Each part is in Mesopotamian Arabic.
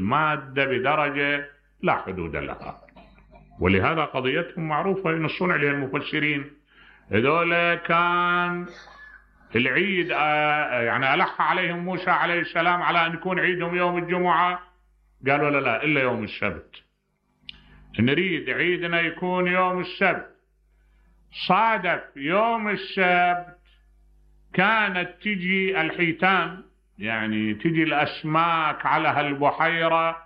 المادة بدرجة لا حدود لها. ولهذا قضيتهم معروفة ينصون عليها المفسرين. هذول كان العيد يعني ألح عليهم موسى عليه السلام على أن يكون عيدهم يوم الجمعة، قالوا لا إلا يوم السبت، نريد عيدنا يكون يوم السبت. صادف يوم السبت كانت تجي الحيتان، يعني تجي الأسماك على هالبحيرة،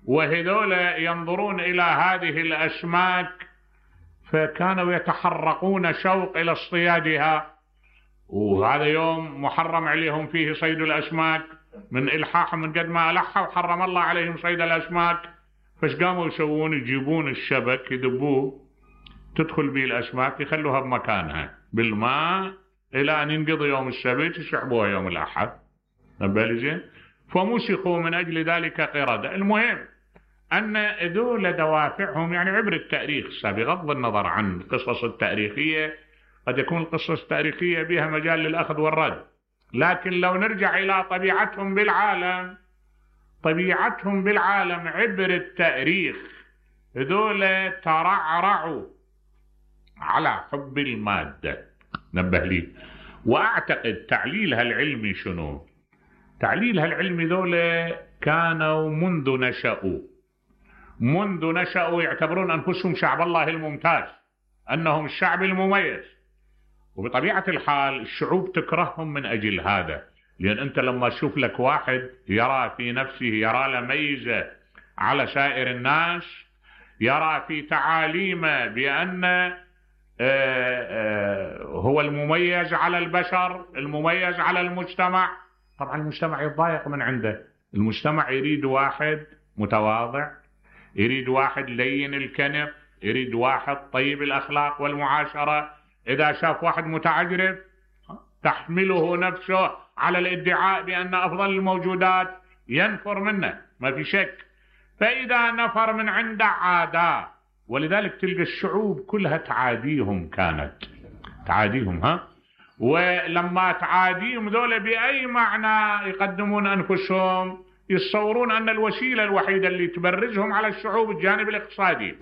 وهذول ينظرون إلى هذه الأسماك فكانوا يتحرقون شوق إلى اصطيادها، وهذا يوم محرم عليهم فيه صيد الأسماك من إلحاحهم، من قد ما ألحوا وحرم الله عليهم صيد الأسماك. فايش قاموا يسوون؟ يجيبون الشبك يدبوه، تدخل به الأسماك، يخلوها بمكانها بالماء إلى أن ينقضي يوم السبت، يسحبوها يوم الأحد. نبالي فمسخوا من أجل ذلك قردة. المهم أن ذول دوافعهم يعني عبر التاريخ، بغض النظر عن القصص التاريخية، قد يكون القصص التاريخية بها مجال للأخذ والرد، لكن لو نرجع إلى طبيعتهم بالعالم، طبيعتهم بالعالم عبر التاريخ، ذول ترعرعوا على حب المادة. نبه لي. وأعتقد تعليلها العلمي شنو؟ تعليلها العلمي ذول كانوا منذ نشأوا يعتبرون أنفسهم شعب الله الممتاز، أنهم الشعب المميز. وبطبيعة الحال الشعوب تكرههم من أجل هذا، لأن أنت لما تشوف لك واحد يرى في نفسه، يرى له ميزة على سائر الناس، يرى في تعاليمه بأن هو المميز على البشر، المميز على المجتمع، طبعا المجتمع يتضايق من عنده. المجتمع يريد واحد متواضع، يريد واحد لين الكنف، يريد واحد طيب الأخلاق والمعاشرة. إذا شاف واحد متعجرف تحمله نفسه على الادعاء بأن أفضل الموجودات ينفر منه، ما في شك. فإذا نفر من عنده عادة، ولذلك تلقى الشعوب كلها تعاديهم، كانت تعاديهم. ولما تعاديهم ذولا بأي معنى يقدمون أنفسهم؟ يتصورون أن الوسيلة الوحيدة اللي تبرزهم على الشعوب الجانب الاقتصادي.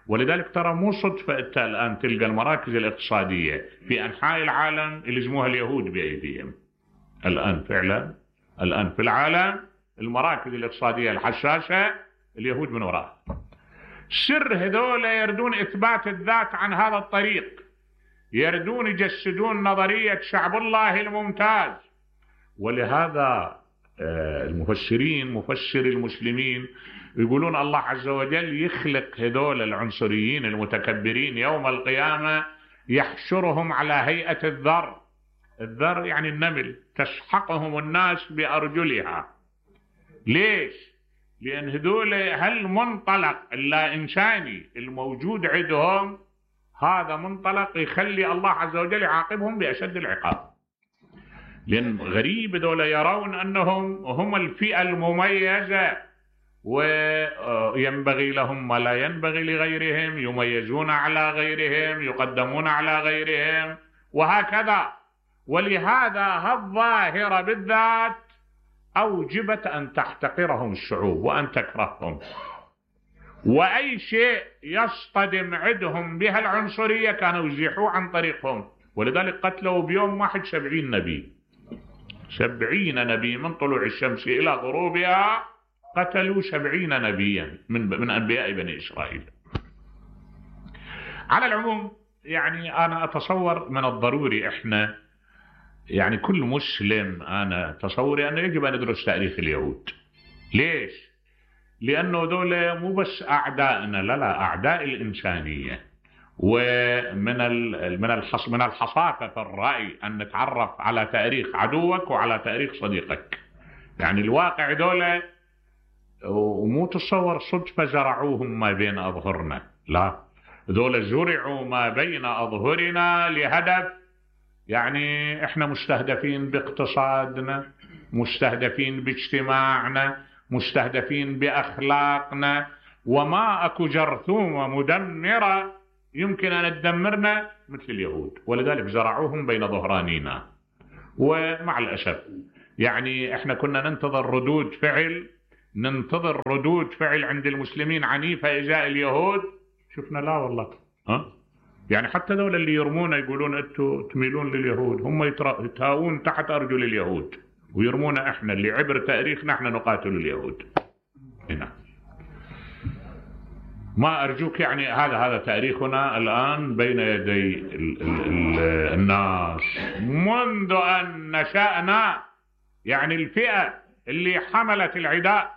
ولذلك ترى مو صدفة أنت الآن تلقى المراكز الاقتصادية في أنحاء العالم اللي يسموها اليهود بأيديهم. الآن فعلا الآن في العالم المراكز الاقتصادية الحساسة اليهود من وراء. سر هذول يردون إثبات الذات عن هذا الطريق، يردون يجسدون نظرية شعب الله الممتاز. ولهذا المفسرين، مفسر المسلمين، يقولون الله عز وجل يخلق هذول العنصريين المتكبرين يوم القيامة، يحشرهم على هيئة الذر. الذر يعني النمل، تسحقهم الناس بأرجلها. ليش؟ لأن هذول هالمنطلق اللا إنساني الموجود عندهم، هذا منطلق يخلي الله عز وجل يعاقبهم بأشد العقاب. لأن غريب دول يرون أنهم هم الفئة المميزة، وينبغي لهم ما لا ينبغي لغيرهم، يميزون على غيرهم، يقدمون على غيرهم، وهكذا. ولهذا هالظاهرة بالذات أوجبت أن تحتقرهم الشعوب وأن تكرههم. وأي شيء يصطدم عندهم بها العنصرية كانوا يزيحوه عن طريقهم. ولذلك قتلوا بيوم واحد 70 نبي، 70 نبي من طلوع الشمس إلى غروبها، قتلوا 70 نبيا من أنبياء بني إسرائيل. على العموم يعني أنا أتصور من الضروري إحنا يعني كل مسلم، أنا تصوري أنه يجب أن ندرس تاريخ اليهود. ليش؟ لأنه دول مو بس أعدائنا، لا أعداء الإنسانية. ومن من الحصافة في الرأي أن نتعرف على تاريخ عدوك وعلى تاريخ صديقك. يعني الواقع دول، ومو تصور صدفة زرعوهم ما بين أظهرنا، لا، دول زرعوا ما بين أظهرنا لهدف. يعني إحنا مستهدفين باقتصادنا، مستهدفين باجتماعنا، مستهدفين بأخلاقنا، وما أكو جرثومة مدمرة يمكن أن تدمرنا مثل اليهود. ولذلك زرعوهم بين ظهرانينا. ومع الأسف يعني إحنا كنا ننتظر ردود فعل ننتظر ردود فعل عند المسلمين عنيفة إزاء اليهود؟ شفنا لا والله. يعني حتى ذول اللي يرمونا يقولون أنتم تميلون لليهود، هم يتهاون تحت أرجل اليهود ويرمونا إحنا اللي عبر تاريخنا إحنا نقاتل اليهود. هنا ما أرجوك، يعني هذا تاريخنا الآن بين يدي الناس منذ أن نشأنا. يعني الفئة اللي حملت العداء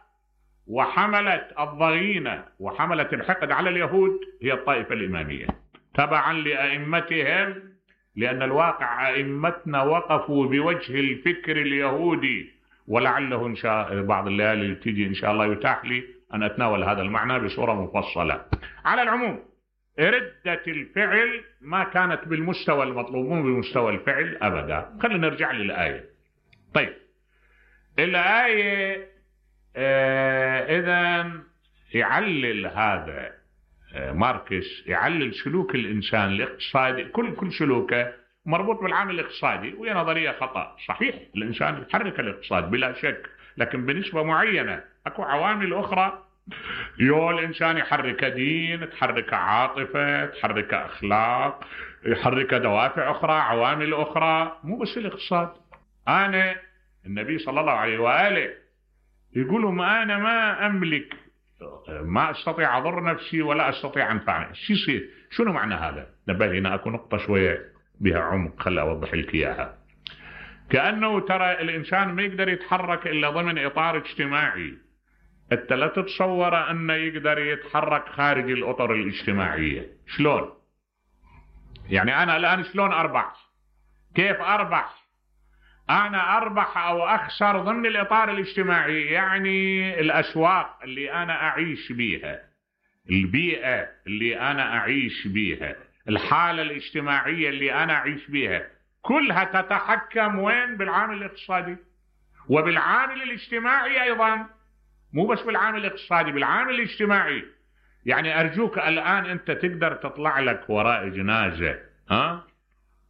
وحملت الضغينة وحملت الحقد على اليهود هي الطائفة الإمامية تبعا لأئمتهم، لأن الواقع أئمتنا وقفوا بوجه الفكر اليهودي، ولعله إن شاء بعض الليالي تيجي إن شاء الله يتاح لي أن أتناول هذا المعنى بصورة مفصلة. على العموم ردة الفعل ما كانت بالمستوى المطلوب، مو بمستوى الفعل أبدا. خلينا نرجع للآية. طيب الآية إذن يعلل هذا ماركس، يعلل سلوك الإنسان الاقتصادي، كل سلوكه مربوط بالعامل الاقتصادي، وهي نظرية خطأ. صحيح الإنسان يحرك الاقتصاد بلا شك، لكن بنسبة معينة. أكو عوامل أخرى الإنسان يحرك دين، تحرك عاطفة، تحرك أخلاق، يحرك دوافع أخرى، عوامل أخرى، مو بس الاقتصاد. النبي صلى الله عليه وآله يقولوا ما أنا ما أملك، ما أستطيع أضر نفسي ولا أستطيع أنفع. شو يصير؟ شنو معنى هذا؟ نبه هنا أكو نقطة شوية بها عمق، خلي أوضح لك إياها. كأنه ترى الإنسان ما يقدر يتحرك إلا ضمن إطار اجتماعي. أنت لا تتصور أنه يقدر يتحرك خارج الأطر الاجتماعية. شلون؟ يعني أنا الآن شلون أربح؟ كيف أربح؟ أنا أربح أو أخسر ضمن الإطار الاجتماعي، يعني الأسواق اللي أنا أعيش بيها، البيئة اللي أنا أعيش بيها، الحالة الاجتماعية اللي أنا أعيش بيها، كلها تتحكم وين؟ بالعامل الاقتصادي وبالعامل الاجتماعي أيضا، مو بس بالعامل الاقتصادي، بالعامل الاجتماعي. يعني أرجوك الآن أنت تقدر تطلع لك وراء جنازة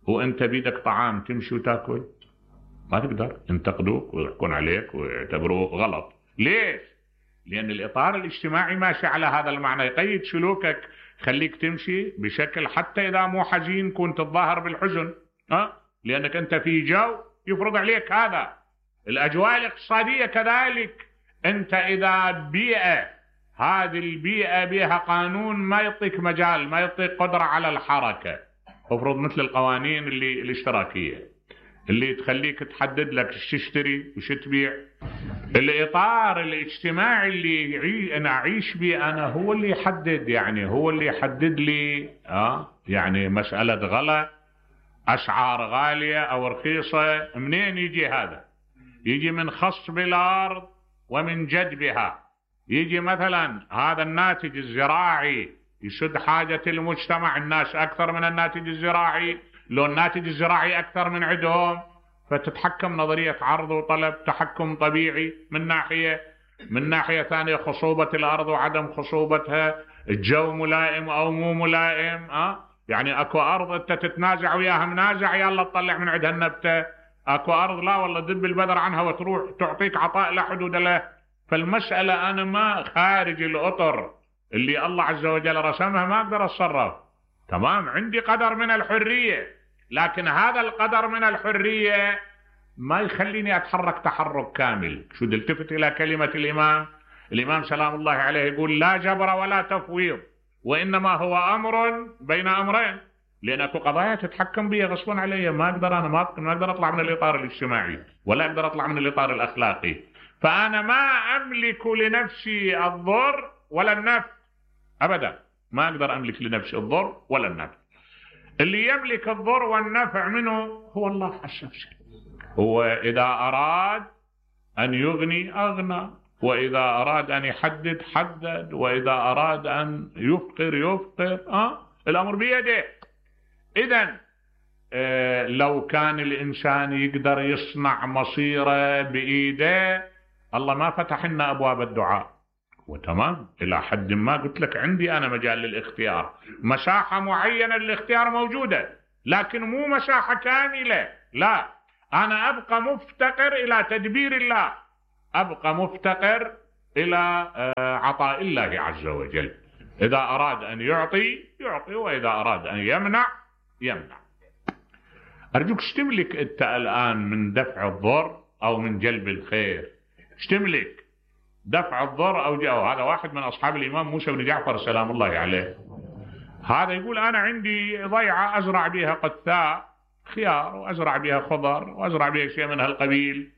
وأنت بيدك طعام تمشي وتاكل؟ ما تقدر، ينتقدوك ويحكون عليك ويعتبروه غلط. ليش؟ لأن الإطار الاجتماعي ماشي على هذا المعنى، يقيد سلوكك، خليك تمشي بشكل حتى إذا مو حزين كنت تظاهر بالحزن، لأنك أنت في جو يفرض عليك هذا. الأجواء الاقتصادية كذلك، أنت إذا بيئة، هذه البيئة بها قانون ما يعطيك مجال، ما يعطيك قدرة على الحركة، افرض مثل القوانين الاشتراكية اللي تخليك تحدد لك ايش تشتري وش تبيع. الإطار الاجتماعي اللي أنا أعيش به أنا هو اللي يحدد، يعني هو اللي يحدد لي يعني مسألة غلا، أسعار غالية أو رخيصة، منين يجي هذا؟ يجي من خصب الأرض ومن جدبها. يجي مثلا هذا الناتج الزراعي يسد حاجة المجتمع، الناس أكثر من الناتج الزراعي، لو الناتج الزراعي أكثر من عندهم، فتتحكم نظرية عرض وطلب، تحكم طبيعي من ناحية. من ناحية ثانية خصوبة الأرض وعدم خصوبتها، الجو ملائم أو مو ملائم. يعني أكو أرض أنت تتنازع وياها منازع، يلا تطلع من عندها النبتة. أكو أرض لا والله دب البذر عنها وتروح تعطيك عطاء لا حدود له. فالمسألة أنا ما خارج الأطر اللي الله عز وجل رسمها ما أقدر أتصرف. تمام، عندي قدر من الحرية، لكن هذا القدر من الحرية ما يخليني أتحرك تحرك كامل. شو التفت إلى كلمة الإمام سلام الله عليه يقول لا جبر ولا تفويض، وإنما هو أمر بين أمرين، لأن أكو قضايا تتحكم بي غصبا علي، ما أقدر أنا ما أقدر أطلع من الإطار الاجتماعي ولا أقدر أطلع من الإطار الأخلاقي. فأنا ما أملك لنفسي الضر ولا النفع أبدا، ما أقدر أملك لنفسي الضر ولا النفع. اللي يملك الضر والنفع منه هو الله عز وجل. هو إذا أراد أن يغني أغنى، وإذا أراد أن يحدد حدد، وإذا أراد أن يفقر يفقر. الأمر بيده. إذن لو كان الإنسان يقدر يصنع مصيره بإيده، الله ما فتح لنا أبواب الدعاء. وتمام إلى حد ما قلت لك عندي أنا مجال للاختيار، مساحة معينة للاختيار موجودة، لكن مو مساحة كاملة. لا، أنا أبقى مفتقر إلى تدبير الله، أبقى مفتقر إلى عطاء الله عز وجل. إذا أراد أن يعطي يعطي، وإذا أراد أن يمنع يمنع. أرجوك ايش تملك أنت الآن من دفع الضر أو من جلب الخير؟ ايش تملك؟ دفع الضر أو هذا واحد من أصحاب الإمام موسى بن جعفر سلام الله عليه، هذا يقول أنا عندي ضيعة أزرع بها قثاء خيار، وأزرع بها خضر، وأزرع بها شيء من هالقبيل.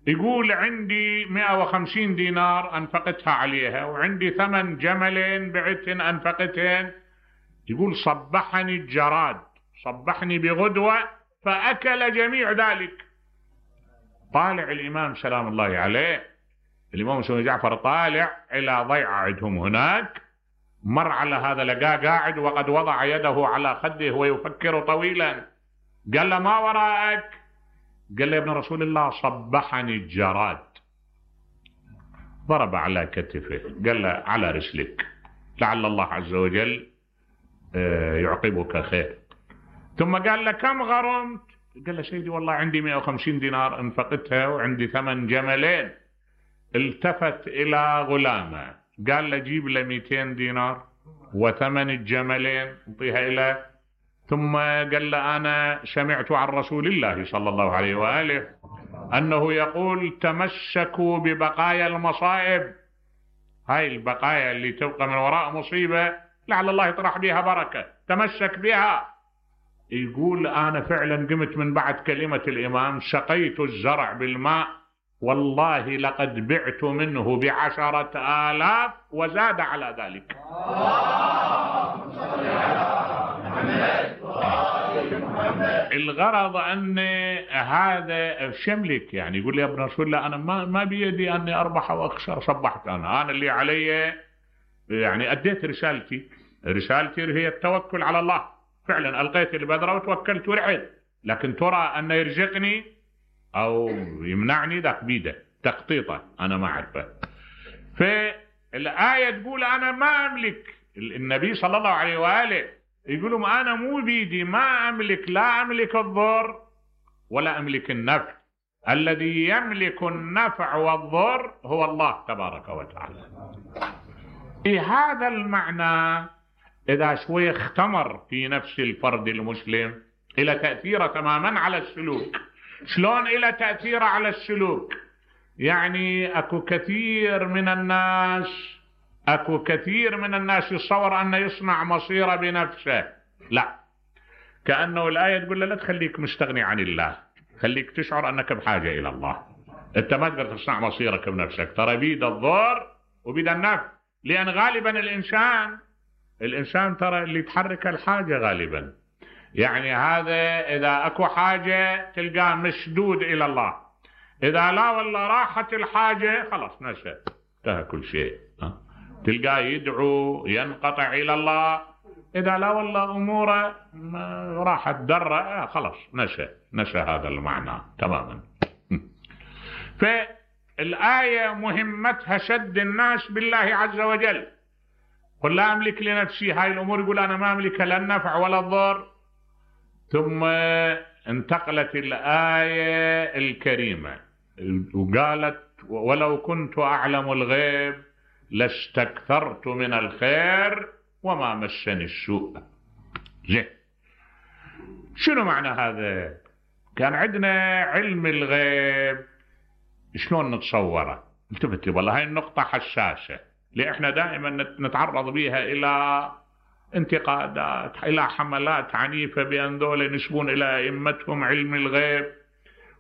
يقول عندي 150 دينار أنفقتها عليها، وعندي 8 جملين بعتهن أنفقتهن. يقول صبحني الجراد، صبحني بغدوة فأكل جميع ذلك. طالع الإمام سلام الله عليه، الإمام موسى بن جعفر طالع إلى ضيعة عندهم هناك، مر على هذا لقاه قاعد وقد وضع يده على خده ويفكر طويلا. قال له ما وراءك؟ قال له يا ابن رسول الله صبحني الجراد. ضرب على كتفه قال له على رسلك، لعل الله عز وجل يعقبك خير. ثم قال له كم غرمت؟ قال له سيدي والله عندي 150 دينار انفقتها وعندي 8 جملين. التفت إلى غلامه قال له جيب له 200 دينار وثمن الجملين انطيها إليه. ثم قال له أنا سمعت عن رسول الله صلى الله عليه وآله أنه يقول تمسكوا ببقايا المصائب، هاي البقايا اللي تبقى من وراء مصيبة لعل الله يطرح بها بركة، تمسك بها. يقول أنا فعلا قمت من بعد كلمة الإمام سقيت الزرع بالماء، والله لقد بعت منه ب10,000 وزاد على ذلك. الغرض أن هذا شملك، يعني يقول لي يا ابن رسول الله أنا ما بيدي أني أربح أو أخسر، صبحت أنا اللي علي يعني أديت رسالتي هي التوكل على الله، فعلا ألقيت البذرة وتوكلت ورعيت، لكن ترى أن يرزقني أو يمنعني ذاك بيده تخطيطه أنا ما أعرفه. فالآية تقول أنا ما أملك، النبي صلى الله عليه وآله يقولون أنا مو بيدي، ما أملك، لا أملك الضر ولا أملك النفع، الذي يملك النفع والضر هو الله تبارك وتعالى. هذا المعنى إذا شوي اختمر في نفس الفرد المسلم إلى تأثيره تماما على السلوك. شلون إلى تأثيره على السلوك؟ يعني أكو كثير من الناس يتصور أنه يصنع مصيره بنفسه، لا، كأنه الآية تقول له لا تخليك مستغني عن الله، خليك تشعر أنك بحاجة إلى الله. أنت ما تقدر تصنع مصيرك بنفسك، ترى بيد الضر وبيد النفع، لأن غالبا الإنسان ترى اللي تحرك الحاجة غالبا، يعني هذا إذا أكو حاجة تلقاه مشدود إلى الله، إذا لا والله راحت الحاجة خلاص نسى، انتهى كل شيء، تلقاه يدعو ينقطع إلى الله، إذا لا والله أموره راحت درة خلاص نسى هذا المعنى تماما. فالآية مهمتها شد الناس بالله عز وجل. قل لا أملك لنفسي، هاي الأمور يقول أنا ما أملك لا النفع ولا الضر. ثم انتقلت الآية الكريمة وقالت ولو كنت أعلم الغيب لاستكثرت من الخير وما مسني السوء. زين، شنو معنى هذا؟ كان عندنا علم الغيب شلون نتصوره؟ التفت والله هاي النقطة حساسة، لأن احنا دائما نتعرض بها إلى انتقادات، إلى حملات عنيفة بأن ذولا ينسبون إلى أئمتهم علم الغيب.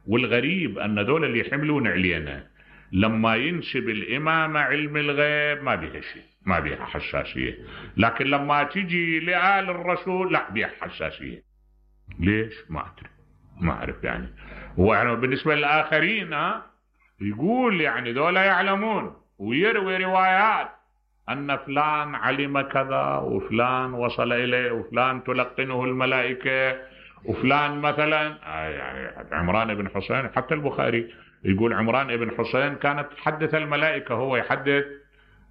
والغريب أن ذولا اللي يحملون علينا لما ينسب الإمام علم الغيب ما بيها شيء، ما بيها حساسية، لكن لما تجي لآل الرسول لا بيها حساسية. ليش؟ ما أدري، ما أعرف يعني. ويعني بالنسبة للآخرين يقول يعني ذولا يعلمون ويروي روايات أن فلان علم كذا وفلان وصل إليه وفلان تلقنه الملائكة وفلان مثلا يعني عمران بن حسين. حتى البخاري يقول عمران بن حسين كانت تحدث الملائكة، هو يحدث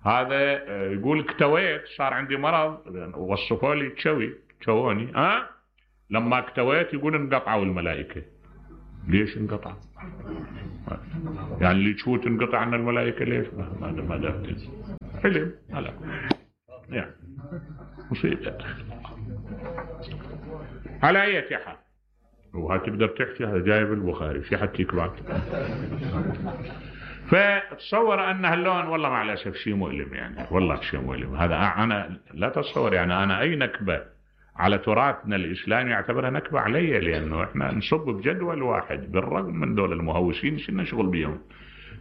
هذا، يقول اكتويت صار عندي مرض وصفوا لي تشوني لما اكتويت يقول انقطعوا الملائكة. ليش انقطع؟ يعني اللي تشوت انقطع عن الملائكة ليش؟ ما دافت علم على يعني مصيبة. على أي حال وهتقدر تحكي هذا جايب البخاري في حكيك بعد. فتصور أن هاللون والله مع الأسف شيء مؤلم، يعني والله شيء مؤلم. هذا أنا لا تصور يعني أنا أي نكبة على تراثنا الإسلامي يعتبرها نكبة علي، لأنه إحنا نصب بجدول واحد بالرغم من دول المهوسين شنو نشغل بيهم.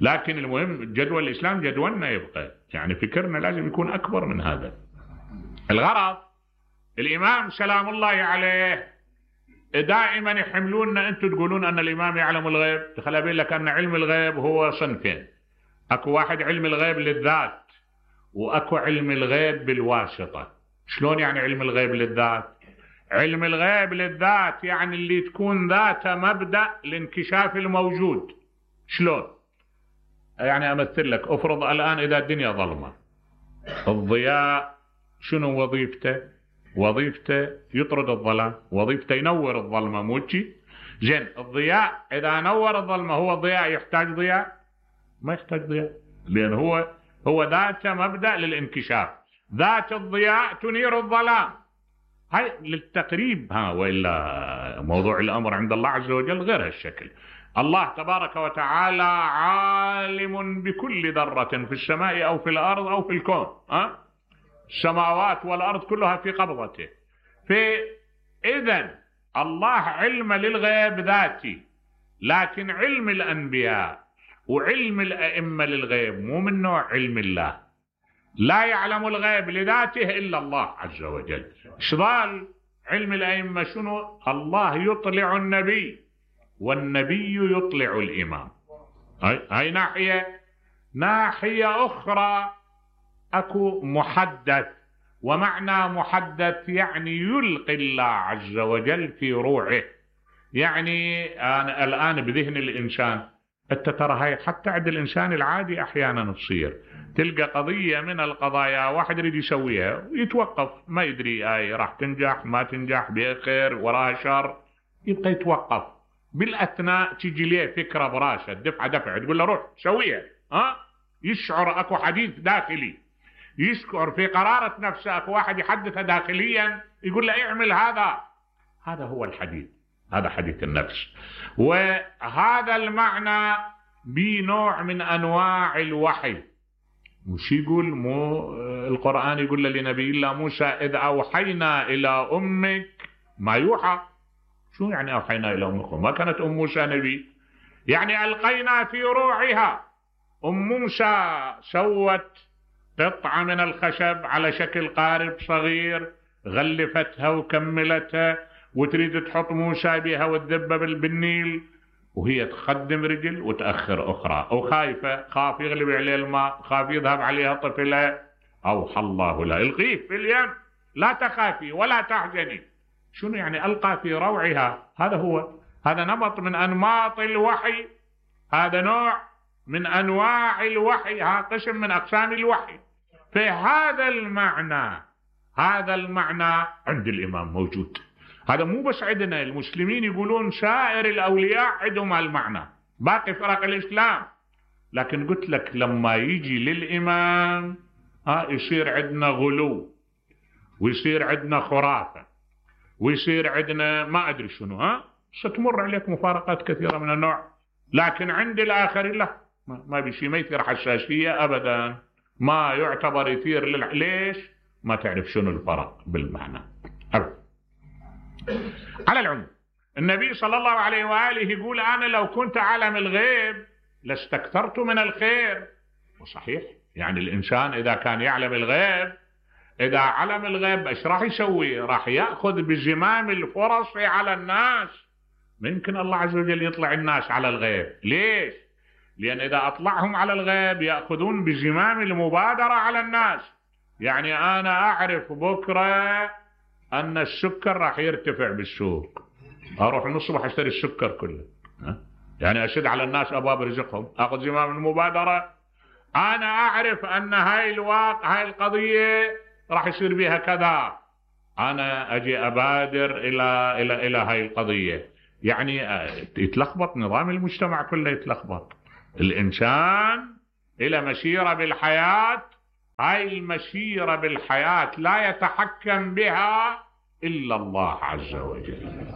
لكن المهم جدول الإسلام جدولنا يبقى، يعني فكرنا لازم يكون أكبر من هذا. الغرض الإمام سلام الله عليه دائما يحملوننا أنتم تقولون أن الإمام يعلم الغيب، خلي أقول لك أن علم الغيب هو صنفين. أكو واحد علم الغيب للذات، وأكو علم الغيب بالواسطة. شلون يعني علم الغيب للذات؟ علم الغيب للذات يعني اللي تكون ذاته مبدأ لانكشاف الموجود. شلون؟ يعني أمثل لك، أفرض الآن إذا الدنيا ظلمة، الضياء شنو وظيفته؟ وظيفته يطرد الظلام، وظيفته ينور الظلمة موجي. زين الضياء إذا نور الظلمة هو الضياء يحتاج ضياء؟ ما يحتاج ضياء، لأن هو ذاته مبدأ للانكشاف. ذات الضياء تنير الظلام. هاي للتقريب، وإلا موضوع الأمر عند الله عز وجل غير هالشكل. الله تبارك وتعالى عالم بكل ذرة في السماء أو في الأرض أو في الكون. السماوات والأرض كلها في قبضته. فإذن الله علم للغيب ذاتي، لكن علم الأنبياء وعلم الأئمة للغيب مو من نوع علم الله. لا يعلم الغيب لذاته إلا الله عز وجل. شغال علم الأئمة شنو؟ الله يطلع النبي والنبي يطلع الإمام. هاي ناحية أخرى أكو محدث، ومعنى محدث يعني يلقي الله عز وجل في روعه. يعني أنا الآن بذهن الإنسان، أنت ترى هاي حتى عند الإنسان العادي أحيانا تصير، تلقى قضية من القضايا واحد يريد يسويها ويتوقف، ما يدري راح تنجح ما تنجح، بخير وراها شر، يبقى يتوقف. بالأثناء تجي ليه فكرة براسه دفعة تقول له روح سويها. يشعر أكو حديث داخلي، يشعر في قرارة نفسه. أكو واحد يحدثه داخليا يقول له اعمل هذا هو الحديث، هذا حديث النفس. وهذا المعنى بنوع من أنواع الوحي. وش يقول القرآن يقول لنبي الله موسى إذ أوحينا إلى أمك ما يوحى. شو يعني أوحينا إلى أمك؟ ما كانت أم موسى نبي، يعني ألقينا في روعها. أم موسى سوت قطعة من الخشب على شكل قارب صغير، غلفتها وكملتها، وتريد تحط موسى بها وتذبه بالنيل، وهي تقدم رجل وتأخر أخرى، وخايفة، خاف يغلب عليه الماء، خاف يذهب عليها طفلة. أوحى الله لها القيه في اليم لا تخافي ولا تحزني. شنو يعني ألقى في روعها؟ هذا نمط من أنماط الوحي، هذا نوع من أنواع الوحي، هذا قسم من أقسام الوحي. فهذا المعنى عند الإمام موجود. هذا مو بس عندنا، المسلمين يقولون سائر الأولياء عندهم المعنى، باقي فرق الإسلام. لكن قلت لك لما يجي للإمام يصير عندنا غلو، ويصير عندنا خرافة، ويصير عندنا ما أدري شنو. ستمر عليك مفارقات كثيرة من النوع. لكن عند الآخرين لا، ما بشي، ما يثير حساسية أبدا، ما يعتبر يثير ليش؟ ما تعرف شنو الفرق بالمعنى أبدا. على العموم النبي صلى الله عليه وآله يقول أنا لو كنت أعلم الغيب لاستكثرت من الخير. وصحيح، يعني الإنسان إذا كان يعلم الغيب، إذا علم الغيب إيش راح يسوي؟ راح يأخذ بزمام الفرص على الناس. ممكن الله عز وجل يطلع الناس على الغيب. ليش؟ لأن إذا أطلعهم على الغيب يأخذون بزمام المبادرة على الناس. يعني أنا أعرف بكرة أن السكر راح يرتفع بالسوق، أروح من الصبح أشتري السكر كله، يعني أشد على الناس أبواب رزقهم، أخذ زمام المبادرة. أنا أعرف أن هاي القضية راح يصير بها كذا، أنا أجي أبادر إلى هاي القضية. يعني يتلخبط نظام المجتمع كله، يتلخبط. الإنسان إلى مسيرة بالحياة، هاي المسيرة بالحياة لا يتحكم بها إلا الله عز وجل.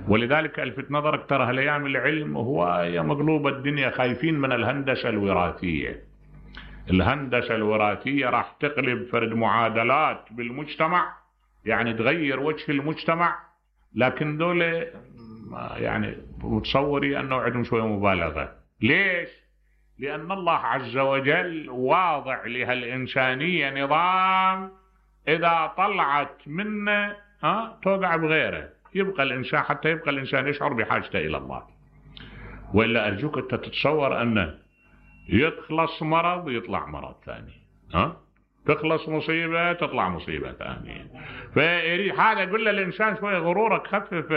ولذلك ألفت نظرك ترى هالأيام العلم هو مقلوب الدنيا، خايفين من الهندسة الوراثية. الهندسة الوراثية راح تقلب فرد معادلات بالمجتمع، يعني تغير وجه المجتمع. لكن دول يعني متصوري أنه عندهم شوية مبالغة. ليش؟ لأن الله عز وجل واضع لها الإنسانية نظام إذا طلعت منه توقع بغيره، يبقى الإنسان حتى يبقى الإنسان يشعر بحاجته إلى الله. وإلا أرجوك أنت تتصور أنه يخلص مرض يطلع مرض ثاني، تخلص مصيبة تطلع مصيبة ثانية. فيريد هذا يقول للإنسان شوية غرورك خفف،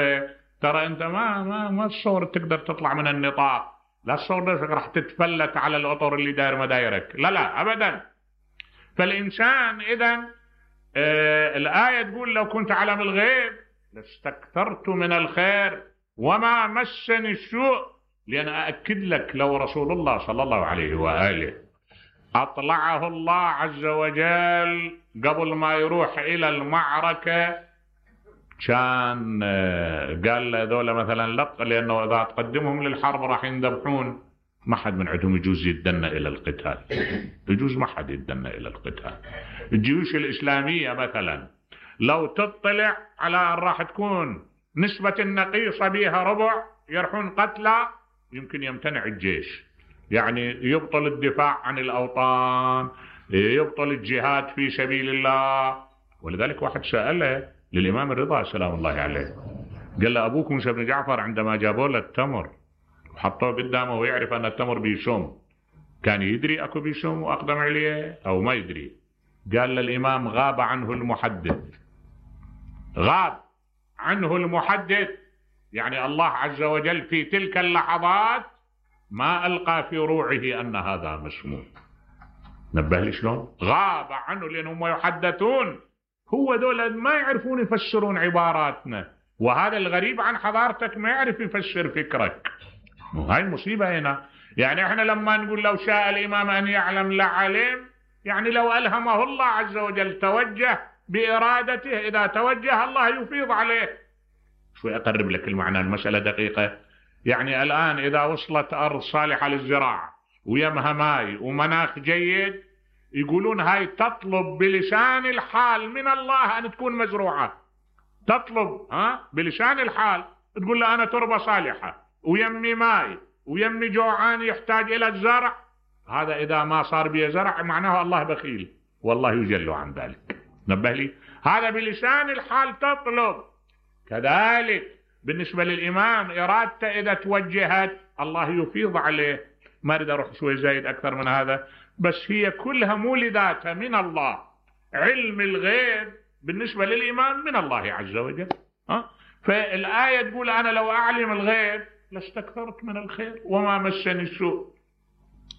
ترى أنت ما تصور تقدر تطلع من النطاق، لا تصور نفسك راح تتفلت على الأطر اللي داير مدايرك، لا أبدا. فالإنسان إذن الآية تقول لو كنت أعلم الغيب لاستكثرت من الخير وما مسني السوء. لأن أأكد لك لو رسول الله صلى الله عليه وآله أطلعه الله عز وجل قبل ما يروح إلى المعركة، كان قال ذولا مثلا لق، لأنه إذا تقدمهم للحرب راح ينذبحون، ما حد من عندهم يجوز يدنا إلى القتال، يجوز ما حد يدنا إلى القتال. الجيوش الإسلامية مثلا لو تطلع على أن راح تكون نسبة النقيصة بها ربع، يرحون قتلى، يمكن يمتنع الجيش، يعني يبطل الدفاع عن الأوطان، يبطل الجهاد في سبيل الله. ولذلك واحد سأله للإمام الرضا سلام الله عليه، قال له أبوك موسى بن جعفر عندما جابوا له التمر وحطوه قدامه ويعرف أن التمر بيسم، كان يدري أكو بيسم وأقدم عليه أو ما يدري؟ قال للإمام غاب عنه المحدث، غاب عنه المحدث، يعني الله عز وجل في تلك اللحظات ما ألقى في روعه أن هذا مسموم. نبه لي شلون؟ غاب عنه، لأنهم يحدثون، هو دول ما يعرفون يفسرون عباراتنا، وهذا الغريب عن حضارتك ما يعرف يفسر فكرك. هاي المصيبة هنا. يعني احنا لما نقول لو شاء الإمام أن يعلم لعلم، يعني لو ألهمه الله عز وجل توجه بإرادته، إذا توجه الله يفيض عليه. شوي أقرب لك المعنى، المسألة دقيقة. يعني الآن إذا وصلت أرض صالحة للزراعة ويمها ماي ومناخ جيد، يقولون هاي تطلب بلسان الحال من الله أن تكون مزروعة، تطلب بلسان الحال، تقول له أنا تربة صالحة ويمي ماي ويمي جوعان يحتاج إلى الزرع. هذا إذا ما صار بيه زرع معناه الله بخيل، والله يجل عن ذلك. نبه لي، هذا بلسان الحال تطلب. كذلك بالنسبة للإمام إرادته إذا توجهت الله يفيض عليه. ما أريد أروح شوي زايد أكثر من هذا، بس هي كلها مولداتها من الله. علم الغيب بالنسبة للإمام من الله عز وجل. فالآية تقول أنا لو أعلم الغيب لاستكثرت من الخير وما مسني السوء.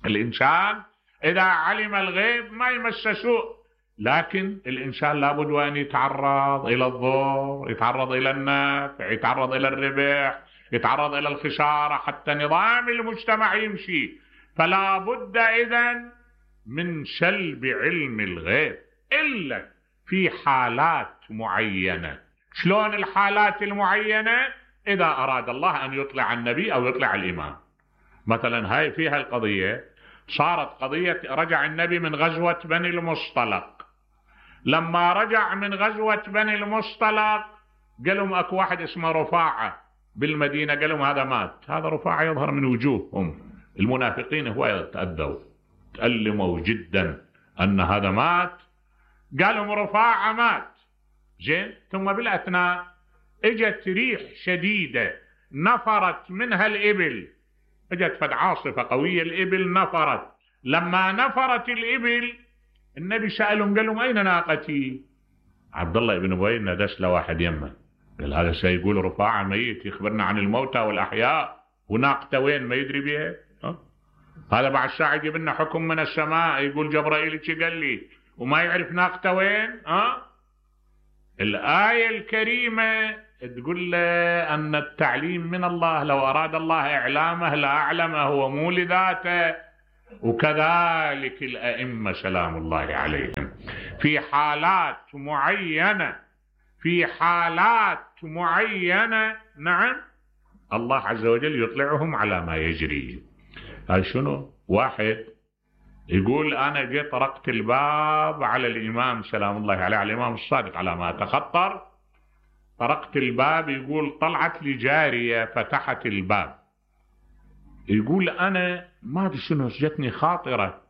الإنسان إذا علم الغيب ما يمس سوء، لكن الإنسان لابد وأن يتعرض إلى الضر، يتعرض إلى النفع، يتعرض إلى الربح، يتعرض إلى الخسارة حتى نظام المجتمع يمشي. فلا بد إذن من سلب علم الغيب إلا في حالات معينة. شلون الحالات المعينة؟ إذا أراد الله أن يطلع النبي أو يطلع الإمام. مثلا هاي فيها القضية، صارت قضية رجع النبي من غزوة بني المصطلق. لما رجع من غزوة بني المصطلق قالوا اكو واحد اسمه رفاعة بالمدينة، قالوا هذا مات. هذا رفاعة يظهر من وجوههم المنافقين هو تأذوا تألموا جدا أن هذا مات، قالوا رفاعة مات. زين، ثم بالأثناء اجت ريح شديدة نفرت منها الإبل، اجت فد عاصفة قوية، الإبل نفرت. لما نفرت الإبل النبي سألهم قال لهم أين ناقتي؟ عبد الله بن أبي ندس له واحد يمه، قال هذا سيقول رفاعة ميت يخبرنا عن الموتى والأحياء، وناقته وين ما يدري بها. هذا بعد ساعة يجيب لنا حكم من السماء يقول جبرائيل ايش قال لي وما يعرف ناقته وين. الآية الكريمة تقول له أن التعليم من الله، لو أراد الله إعلامه لأعلمه، هو مو لذاته. وكذلك الأئمة سلام الله عليهم في حالات معينة، في حالات معينة نعم الله عز وجل يطلعهم على ما يجري. هاي شنو؟ واحد يقول أنا جيت طرقت الباب على الإمام سلام الله عليه، على الإمام الصادق على ما أتخطر، طرقت الباب، يقول طلعت لي جارية فتحت الباب، يقول أنا ما أدري شنو جتني خاطرة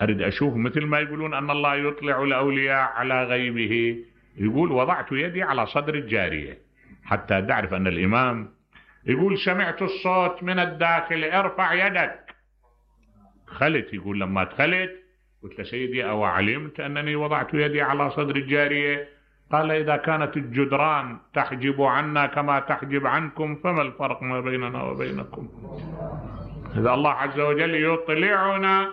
أريد أشوف، مثل ما يقولون أن الله يطلع الأولياء على غيبه، يقول وضعت يدي على صدر الجارية حتى تعرف أن الإمام، يقول سمعت الصوت من الداخل ارفع يدك. دخلت، يقول لما دخلت قلت له سيدي أو علمت أنني وضعت يدي على صدر الجارية؟ قال إذا كانت الجدران تحجب عنا كما تحجب عنكم فما الفرق ما بيننا وبينكم؟ إذا الله عز وجل يطلعنا،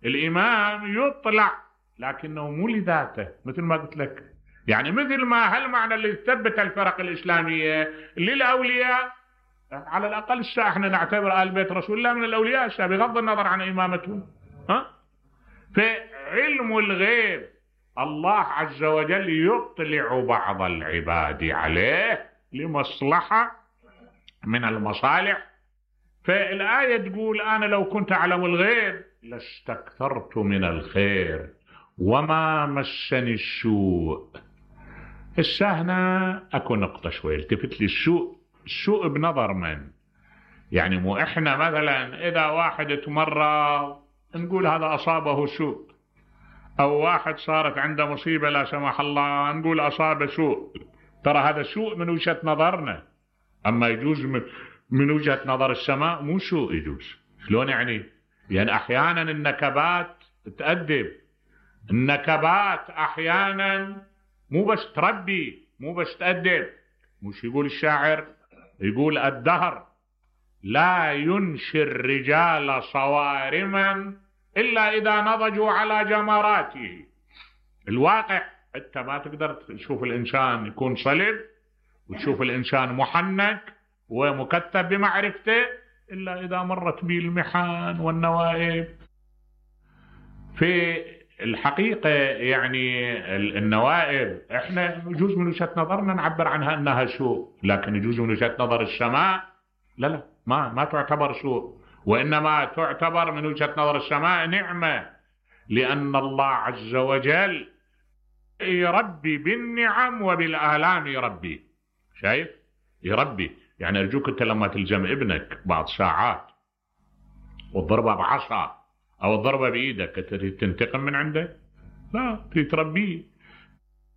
الإمام يطلع لكنه مو لذاته، مثل ما قلت لك، يعني مثل ما هالمعنى اللي ثبت الفرق الإسلامية للأولياء، على الأقل الساعة احنا نعتبر آل بيت رسول الله من الأولياء الساعة بغض النظر عن إمامتهم. فعلم الغيب الله عز وجل يطلع بعض العباد عليه لمصلحة من المصالح. فالآية تقول أنا لو كنت أعلم الغيب لاستكثرت من الخير وما مسني السوء. هنا أكو نقطة شوي التفت لي، السوء بنظر من؟ يعني مو إحنا مثلا إذا واحد تمرض نقول هذا أصابه سوء، أو واحد صارت عنده مصيبة لا سمح الله نقول أصابه سوء، ترى هذا سوء من وجهة نظرنا، أما يجوز من وجهة نظر السماء مو سوء يجوز. شلون يعني؟ يعني أحيانا النكبات تأدب، النكبات أحيانا مو بس تربي مو بس تأدب. مش يقول الشاعر، يقول الدهر لا ينشي الرجال صوارما إلا إذا نضجوا على جمراته. الواقع أنت ما تقدر تشوف الإنسان يكون صلب وتشوف الإنسان محنك ومكتب بمعرفته إلا إذا مرت به المحن والنوائب. في الحقيقة يعني النوائب احنا يجوز من وجهة نظرنا نعبر عنها انها سوء، لكن يجوز من وجهة نظر السماء لا ما تعتبر سوء، وانما تعتبر من وجهة نظر السماء نعمة، لان الله عز وجل يربي بالنعم وبالآلام يربي. شايف؟ يربي. يعني ارجوك انت لما تلزم ابنك بعض ساعات وتضربه بعصا أو الضربة بإيدك تنتقم من عنده؟ لا، تربيه.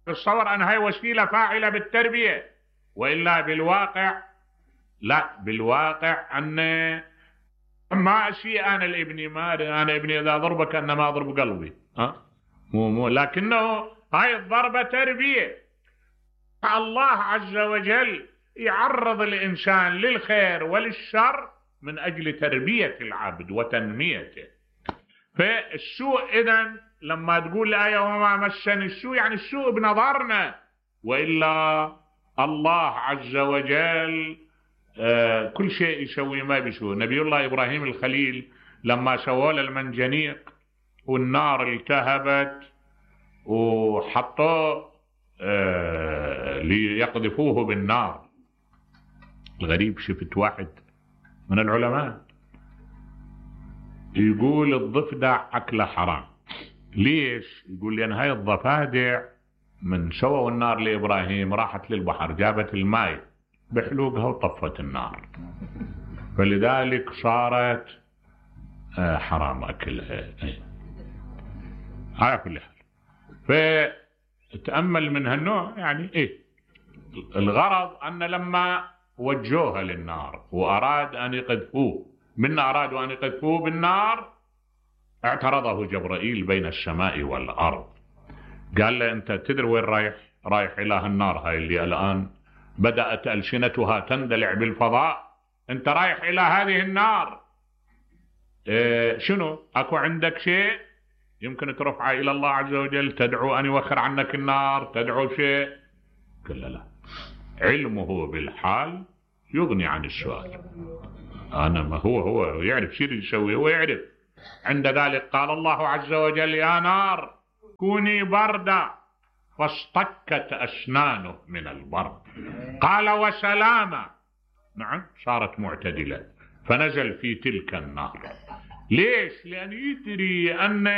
تصور أن هاي وسيلة فاعلة بالتربية، وإلا بالواقع لا، بالواقع أن ما أشيء أنا لابني، ما أنا ابني إذا ضربك أنما أضرب قلبي، مو لكنه هاي الضربة تربية. الله عز وجل يعرض الإنسان للخير وللشر من أجل تربية العبد وتنميته. فالسوء إذن لما تقول الآية وما مسني السوء يعني السوء بنظرنا، وإلا الله عز وجل كل شيء يسوي ما بيسوي. نبي الله إبراهيم الخليل لما سووا له المنجنيق والنار التهبت وحطوه ليقذفوه بالنار، الغريب شفت واحد من العلماء يقول الضفدع أكله حرام. ليش؟ يقول لأن هاي الضفادع من سووا النار لإبراهيم راحت للبحر جابت الماء بحلوقها وطفت النار، فلذلك صارت حرام أكلها. على كل حال فتأمل من هالنوع يعني الغرض أن لما وجوها للنار وأراد أن يقذفوه أرادوا أن يقذفوه بالنار، اعترضه جبرائيل بين السماء والأرض، قال له أنت تدري وين رايح إلى النار هاي اللي الآن بدأت ألسنتها تندلع بالفضاء، أنت رايح إلى هذه النار، شنو أكو عندك شيء يمكن ترفعه إلى الله عز وجل، تدعو أن يوخر عنك النار، تدعو شيء؟ قال لا، علمه بالحال يغني عن السؤال. أنا ما هو يعرف شو يسوي، هو يعرف. عند ذلك قال الله عز وجل: يا نار كوني بردا، فاصطكت أسنانه من البرد. قال: وسلاما. نعم، صارت معتدلة، فنزل في تلك النار. ليش؟ لأن يدري أن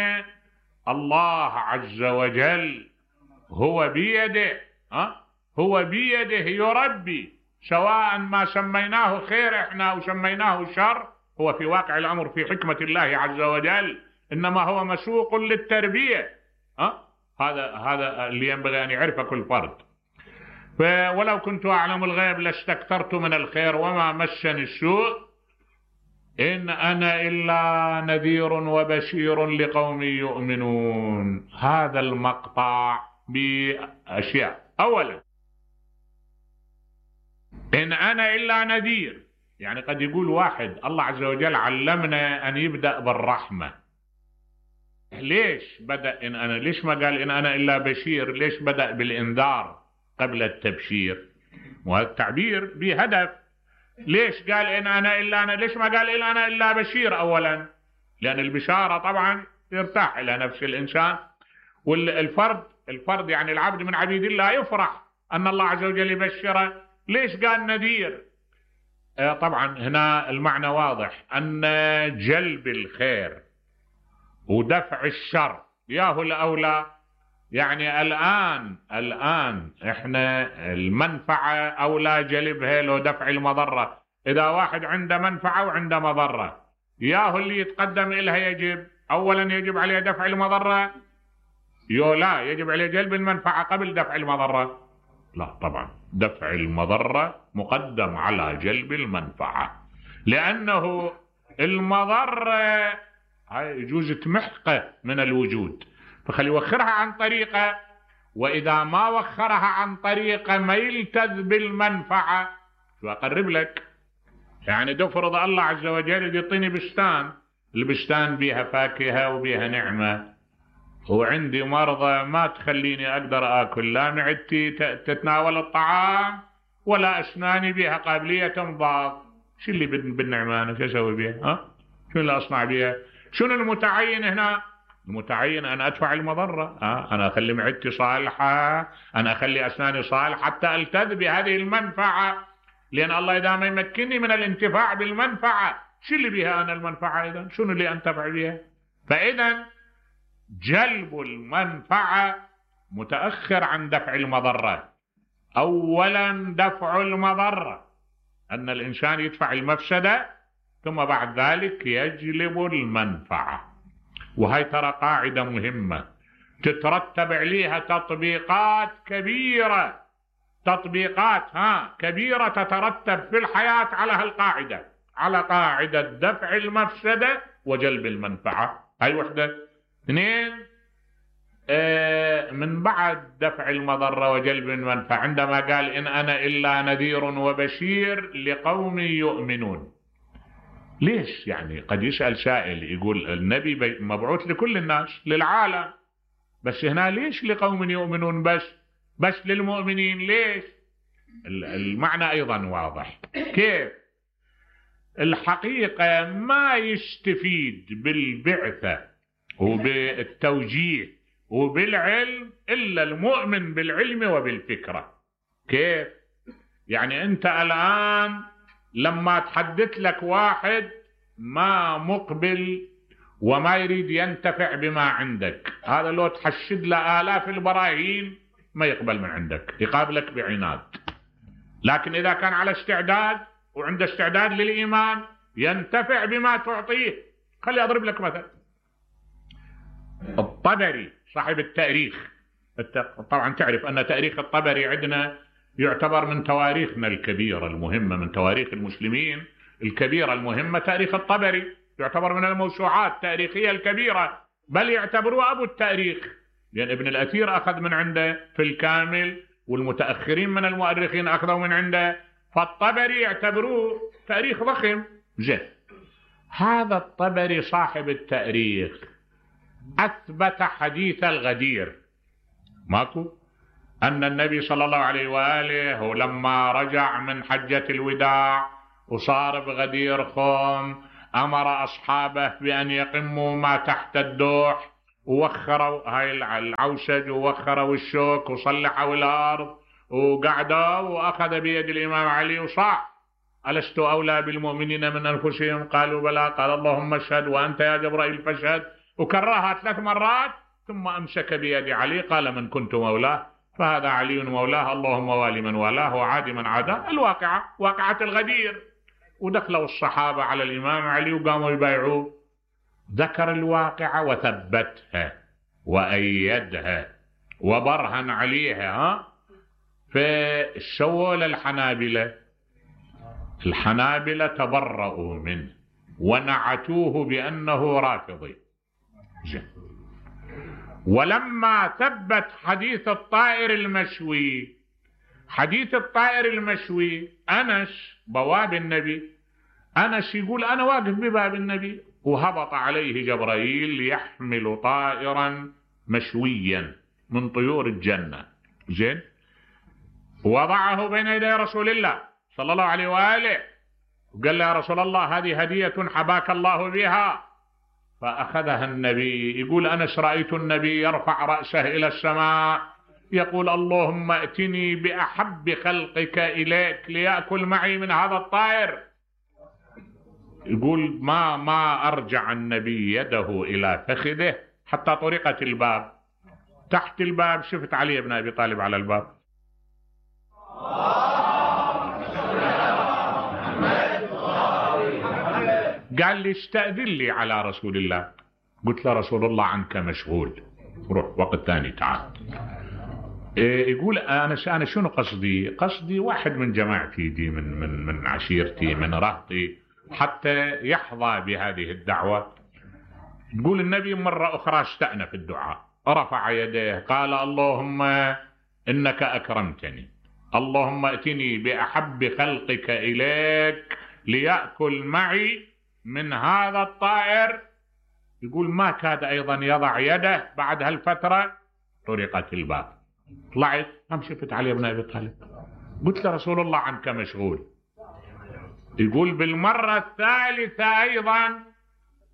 الله عز وجل هو بيده، هو بيده يربي، سواء ما سميناه خير احنا او سميناه شر، هو في واقع الامر في حكمة الله عز وجل انما هو مسوق للتربية. هذا اللي ينبغي ان يعرفه كل فرد. ولو كنت اعلم الغيب لاستكثرت من الخير وما مسني السوء إن أنا إلا نذير وبشير لقوم يؤمنون. هذا المقطع بأشياء. أولا، إن أنا إلا نذير، يعني قد يقول واحد الله عز وجل علمنا أن يبدأ بالرحمة، ليش بدأ إن أنا؟ ليش ما قال إن أنا إلا بشير؟ ليش بدأ بالإنذار قبل التبشير؟ وهذا التعبير بهدف. ليش قال إن أنا إلا أنا؟ ليش ما قال إن أنا إلا بشير أولا؟ لأن البشارة طبعا يرتاح إلى نفس الإنسان، والفرد يعني العبد من عبيد الله يفرح أن الله عز وجل يبشره. ليش قال نذير؟ طبعا هنا المعنى واضح، أن جلب الخير ودفع الشر ياهو الأولى. يعني الآن احنا المنفعة أولى جلبها لو دفع المضرة. إذا واحد عنده منفعة وعنده مضرة، ياهو اللي يتقدم إلها يجب أولا يجب عليه دفع المضرة؟ لا، يجب عليه جلب المنفعة قبل دفع المضرة. لا طبعا، دفع المضرة مقدم على جلب المنفعة، لأنه المضرة يجوز تمحقه من الوجود، فخلي يوخرها عن طريقه، وإذا ما وخرها عن طريقه ما يلتذ بالمنفعة. شو أقرب لك؟ يعني تفرض الله عز وجل يعطيني بستان، البستان بيها فاكهة وبيها نعمة، وعندي مرضى ما تخليني أقدر أكل، لا معدتي تتناول الطعام ولا أسناني بيها قابلية تنضاف. شو اللي بالنعمة أنا شو أسوي بيها؟ شو اللي أصنع بيها؟ شنو المتعين هنا؟ المتعين أن أدفع المضرة، أنا أخلي معدتي صالحة، أنا أخلي أسناني صالحة حتى ألتذ بهذه المنفعة، لأن الله إذا ما يمكنني من الانتفاع بالمنفعة شو اللي بها أنا المنفعة؟ إذن شنو اللي أنتفع بها؟ فإذا جلب المنفعة متأخر عن دفع المضرة. أولا دفع المضرة، أن الإنسان يدفع المفسدة ثم بعد ذلك يجلب المنفعة. وهي ترى قاعدة مهمة تترتب عليها تطبيقات كبيرة، تطبيقات كبيرة تترتب في الحياة على هالقاعدة، على قاعدة دفع المفسدة وجلب المنفعة. هاي وحدة. اثنين، من بعد دفع المضرة وجلب المنفعة عندما قال إن أنا إلا نذير وبشير لقوم يؤمنون. ليش؟ يعني قد يسأل سائل يقول النبي مبعوث لكل الناس للعالم، بس هنا ليش لقوم يؤمنون بس للمؤمنين؟ ليش؟ المعنى أيضا واضح. كيف؟ الحقيقة ما يستفيد بالبعثة وبالتوجيه وبالعلم إلا المؤمن بالعلم وبالفكرة. كيف؟ يعني أنت الآن لما تحدث لك واحد ما مقبل وما يريد ينتفع بما عندك، هذا لو تحشد له آلاف البراهين ما يقبل من عندك، يقابلك بعناد. لكن إذا كان على استعداد وعنده استعداد للإيمان ينتفع بما تعطيه. خلي أضرب لك مثل. الطبري صاحب التاريخ، طبعا تعرف أن تاريخ الطبري عندنا يعتبر من تواريخنا الكبيرة المهمة، من تواريخ المسلمين الكبيرة المهمة. تاريخ الطبري يعتبر من الموسوعات التاريخية الكبيرة، بل يعتبروه أبو التاريخ، لأن ابن الأثير أخذ من عنده في الكامل، والمتأخرين من المؤرخين أخذوا من عنده، فالطبري يعتبروه تاريخ ضخم. زين، هذا الطبري صاحب التاريخ أثبت حديث الغدير، ماكو؟ أن النبي صلى الله عليه وآله لما رجع من حجة الوداع وصار بغدير خوم أمر أصحابه بأن يقموا ما تحت الدوح، ووخروا هاي العوسج ووخروا الشوك وصلحوا الأرض وقعدوا، وأخذ بيد الإمام علي وصاح: ألست أولى بالمؤمنين من أنفسهم؟ قالوا بلى. قال: اللهم اشهد وأنت يا جبرائيل فاشهد. وكررها 3 مرات، ثم أمسك بيد علي قال: من كنت مولاه فهذا علي مولاه، اللهم والي من والاه وعادي من عاداه. الواقعة واقعة الغدير. ودخلوا الصحابة على الإمام علي وقاموا يبايعوه. ذكر الواقعة وثبتها وأيدها وبرهن عليها. فسووا للحنابلة، الحنابلة تبرؤوا منه ونعتوه بأنه رافضي. ولما ثبت حديث الطائر المشوي، حديث الطائر المشوي، أنس بواب النبي، أنس يقول: أنا واقف بباب النبي وهبط عليه جبرائيل يحمل طائرا مشويا من طيور الجنة. زين. وضعه بين يدي رسول الله صلى الله عليه وآله وقال له: يا رسول الله هذه هدية حباك الله بها. فأخذها النبي. يقول أنس: رأيت النبي يرفع رأسه إلى السماء يقول: اللهم ائتني بأحب خلقك إليك ليأكل معي من هذا الطائر. يقول ما أرجع النبي يده إلى فخذه حتى طرقت الباب. تحت الباب شفت علي بن أبي طالب على الباب. قال لي: استأذن لي على رسول الله. قلت له: رسول الله عنك مشغول، روح وقت ثاني تعال. يقول أنا شنو قصدي واحد من جماعتي دي من عشيرتي من رهطي حتى يحظى بهذه الدعوة. يقول النبي مرة أخرى استأنف الدعاء، رفع يديه قال: اللهم إنك أكرمتني، اللهم ائتني بأحب خلقك إليك ليأكل معي من هذا الطائر. يقول ما كاد أيضا يضع يده بعد هالفترة طرقت الباب. طلعت شفت علي بن أبي طالب. قلت له: رسول الله عنك مشغول. يقول بالمرة الثالثة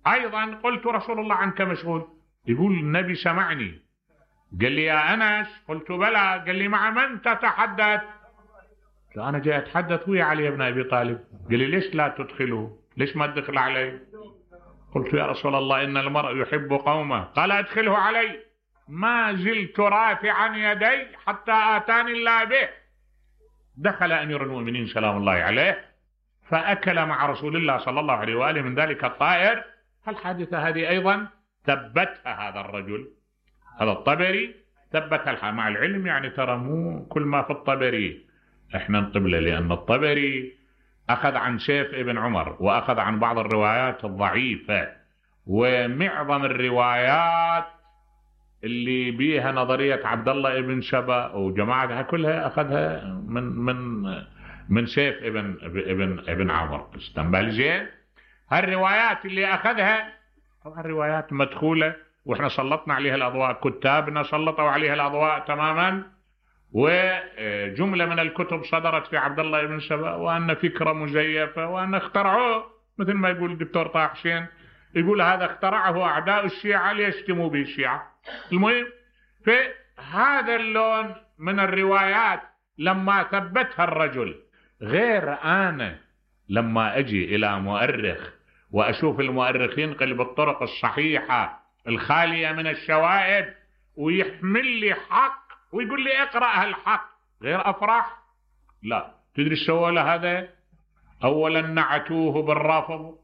أيضا قلت: رسول الله عنك مشغول. يقول النبي سمعني قال لي: يا أنس. قلت: بلى. قال لي: مع من تتحدث؟ أنا جاي أتحدث ويا علي بن أبي طالب. قال لي: ليش لا تدخله؟ ليش ما تدخل علي؟ قلت: يا رسول الله إن المرء يحب قومه. قال: أدخله علي. ما زلت رافعا يدي حتى آتاني الله به. دخل أمير المؤمنين سلام الله عليه فأكل مع رسول الله صلى الله عليه وآله من ذلك الطائر. الحادثة هذه أيضا ثبتها هذا الرجل، هذا الطبري ثبتها. مع العلم يعني ترى مو كل ما في الطبري احنا نقبله، لأن الطبري أخذ عن سيف ابن عمر وأخذ عن بعض الروايات الضعيفة، ومعظم الروايات اللي بيها نظرية عبد الله ابن سبأ وجماعتها كلها أخذها من سيف ابن عمر. استنبال زين. هالروايات اللي أخذها طبعا روايات مدخولة، وإحنا سلطنا عليها الأضواء، كتابنا سلطوا عليها الأضواء تماما. وجملة من الكتب صدرت في عبد الله ابن سبأ وأن فكرة مزيفة وأن اخترعوه، مثل ما يقول الدكتور طه حسين، يقول هذا اخترعه أعداء الشيعة ليشتموا به الشيعة. المهم في هذا اللون من الروايات لما ثبتها الرجل. غير أنا لما أجي إلى مؤرخ وأشوف المؤرخين ينقل بالطرق الصحيحة الخالية من الشوائب ويحمل لي حق ويقول لي اقرأ هالحق، غير أفرح. لا. تدري سوى له هذا؟ أولا نعتوه بالرفض،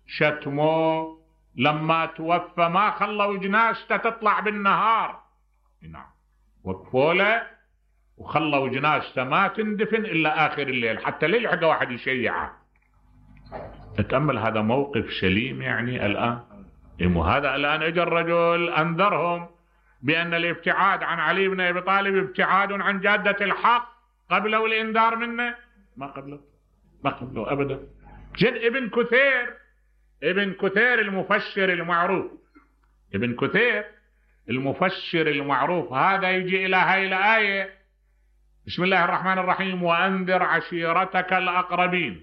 شتموه، لما توفى ما خلوا جنازته تطلع بالنهار. نعم. وقفوا له وخلوا جنازته ما تندفن إلا آخر الليل حتى لا يلحق واحد يشيعه. تتأمل هذا موقف سليم يعني الآن. هذا الآن اجى الرجل أنذرهم بأن الابتعاد عن علي بن أبي طالب ابتعاد عن جادة الحق. قبلوا الإنذار منه؟ ما قبلوا أبدا. جد ابن كثير المفسر المعروف، ابن كثير المفسر المعروف هذا يجي إلى هاي الآية بسم الله الرحمن الرحيم وأنذر عشيرتك الأقربين.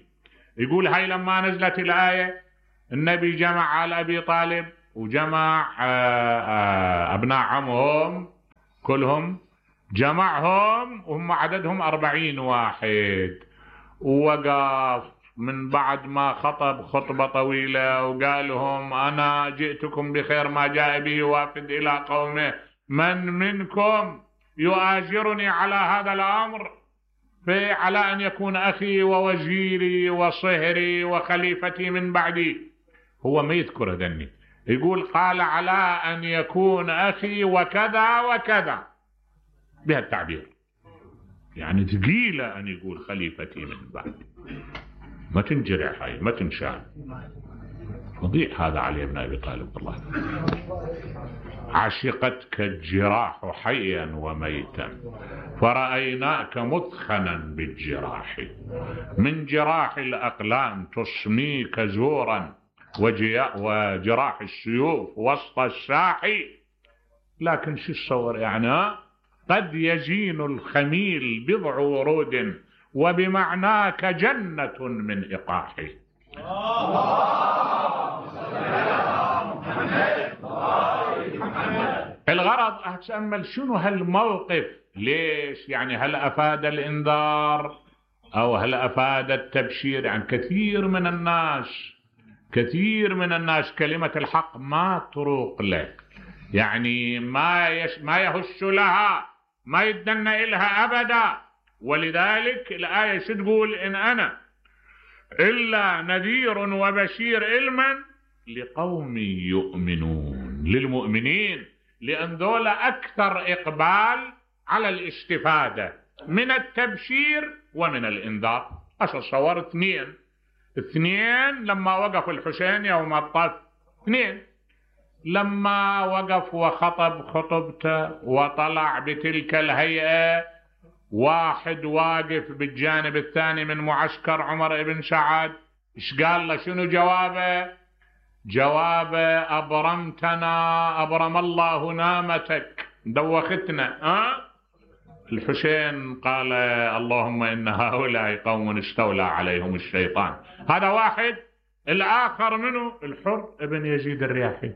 يقول هاي لما نزلت الآية النبي جمع على أبي طالب وجمع أبناء عمهم كلهم، جمعهم وهم عددهم 40 واحد، ووقف من بعد ما خطب خطبة طويلة وقال لهم أنا جئتكم بخير ما جاء به وافد إلى قومه، من منكم يؤاجرني على هذا الأمر على أن يكون أخي ووزيري وصهري وخليفتي من بعدي. هو ما يذكر ذني، يقول قال على أن يكون أخي وكذا وكذا بهالتعبير، يعني ثقيلة أن يقول خليفتي من بعدي، ما تنجرح هاي ما تنشال. فظيع هذا علي بن أبي طالب والله. عشقتك الجراح حيا وميتا فرأيناك مثخنا بالجراح، من جراح الأقلام تصميك زورا وجراح السيوف وسط الساحي. لكن شو الصور يعني؟ قد يزين الخميل بضع ورود وبمعناك جنة من إقاح. الغرض أتأمل شنو هالموقف، ليش يعني؟ هل أفاد الإنذار أو هل أفاد التبشير؟ يعني كثير من الناس كلمة الحق ما تروق له، يعني ما يهش لها، ما يدنى إلها أبدا. ولذلك الآية شو تقول؟ إن أنا إلا نذير وبشير علما لقوم يؤمنون، للمؤمنين، لأن ذول أكثر إقبال على الاستفادة من التبشير ومن الإنذار. أتصور اثنين لما وقف الحسين يوم الطف، اثنين لما وقف وخطب خطبته وطلع بتلك الهيئة، واحد واقف بالجانب الثاني من معسكر عمر بن سعد، ايش قال له؟ شنو جوابه أبرمتنا أبرم الله نامتك، دوختنا. الحسين قال اللهم إن هؤلاء قوم استولى عليهم الشيطان. هذا واحد. الآخر منه الحر ابن يزيد الرياحي،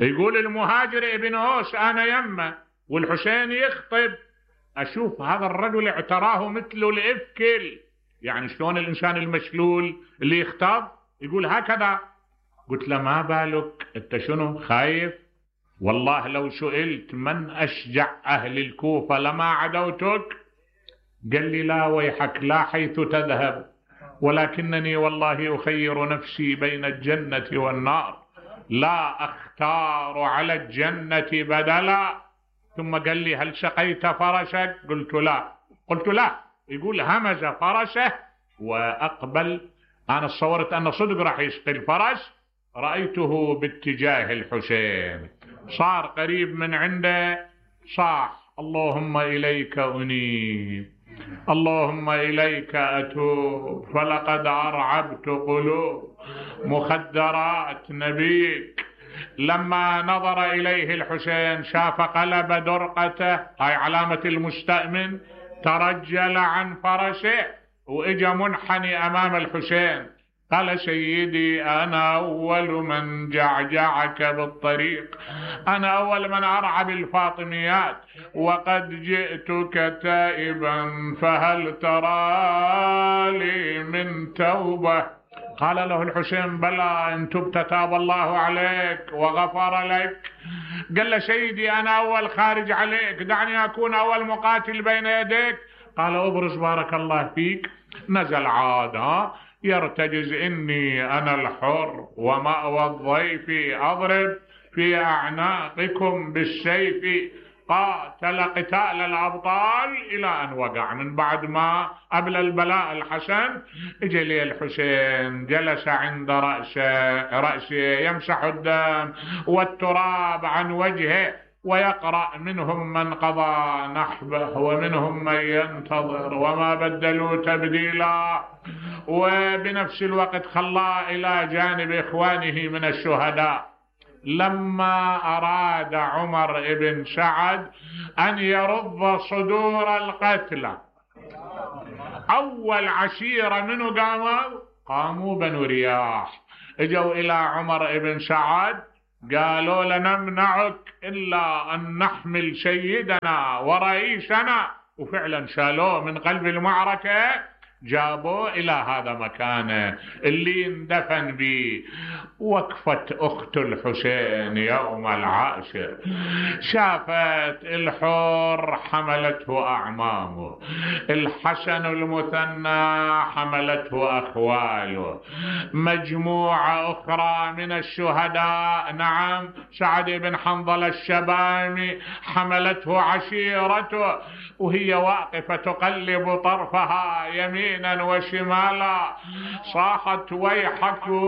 يقول المهاجر ابن هوس أنا يمه والحسين يخطب، أشوف هذا الرجل اعتراه مثل الإفكل، يعني شلون الإنسان المشلول اللي يخطب يقول هكذا. قلت له ما بالك أنت شنو خايف؟ والله لو سئلت من أشجع أهل الكوفة لما عدوتك. قال لي لا ويحك، لا حيث تذهب، ولكنني والله أخير نفسي بين الجنة والنار، لا أختار على الجنة بدلا. ثم قال لي هل سقيت فرسك؟ قلت لا. يقول همز فرسه وأقبل. أنا صورت أن صدق راح يسقي الفرس، رأيته باتجاه الحسين، صار قريب من عنده، صاح اللهم إليك أنيب، اللهم إليك أتوب، فلقد أرعبت قلوب مخدرات نبيك. لما نظر إليه الحسين شاف قلب درقته، هاي علامة المستأمن، ترجل عن فرسه وإجا منحني أمام الحسين. قال سيدي أنا أول من جعجعك بالطريق، أنا أول من أرعى بالفاطميات، وقد جئتك تائبا فهل ترى لي من توبة؟ قال له الحسين بلى إن تبت تاب الله عليك وغفر لك. قال له سيدي أنا أول خارج عليك، دعني أكون أول مقاتل بين يديك. قال أبرز بارك الله فيك. نزل عاد يرتجز إني أنا الحر ومأوى الضيف، أضرب في أعناقكم بالسيف. قاتل قتال الأبطال إلى أن وقع. من بعد ما قبل البلاء الحسن اجى لي الحسين، جلس عند رأسه يمسح الدم والتراب عن وجهه ويقرأ منهم من قضى نحبه ومنهم من ينتظر وما بدلوا تبديلا. وبنفس الوقت خلاه إلى جانب إخوانه من الشهداء. لما أراد عمر بن سعد أن يرض صدور القتلى أول عشيرة منو قاموا بنو رياح، اجوا إلى عمر بن سعد قالوا لا نمنعك إلا أن نحمل سيدنا ورئيسنا، وفعلا شالوه من قلب المعركة جابوه إلى هذا مكانه اللي اندفن به. وقفت أخت الحسين يوم العاشر، شافت الحور حملته أعمامه، الحسن المثنى حملته أخواله، مجموعة أخرى من الشهداء، نعم سعد بن حنظلة الشبامي حملته عشيرته، وهي واقفة تقلب طرفها يمينا وشمالا صاحت ويحكم